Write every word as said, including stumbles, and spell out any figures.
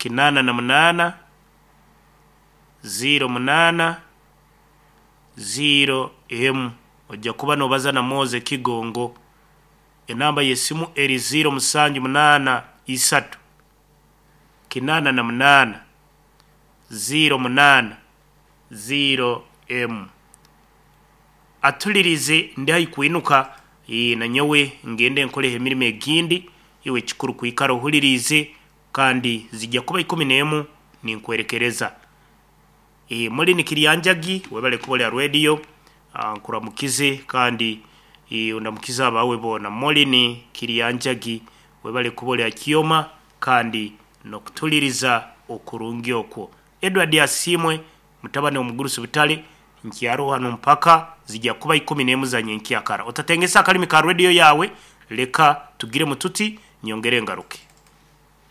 Kinaana na munaana, ziiro munaana, ziiro emu. Ojja kuba nobaza na Moze Kigongo. Enamba y'esimu eri ziiro musanju munaana isatu kinaana na munaana ziiro munaana ziiro emu. Atulirize ndi haihi kwinuka, ee, nanyowe ngende nkoleho emirimo egindi. Iwe kikuru kwikara ohuliriize, kandi zijja kuba ikumi n'emu ninkwerekereza. E, muri Nikiryanjagi, webale kuba oli ha radio. Ah, nkuramukize kandi e, ondamukize abawe boona. Molini Kiryanjagi, webale kuba oli ha kyoma kandi n'okutuliriza okurungi okwo. Edward Asiimwe mutabani omugurusi Butale, nkyaroho hanu mpaka zijja kuba ikumi n'emu za nyenkyakara. Otatengesa akalimi ka radio yawe, leka tugire mututi nyongere ngaruke.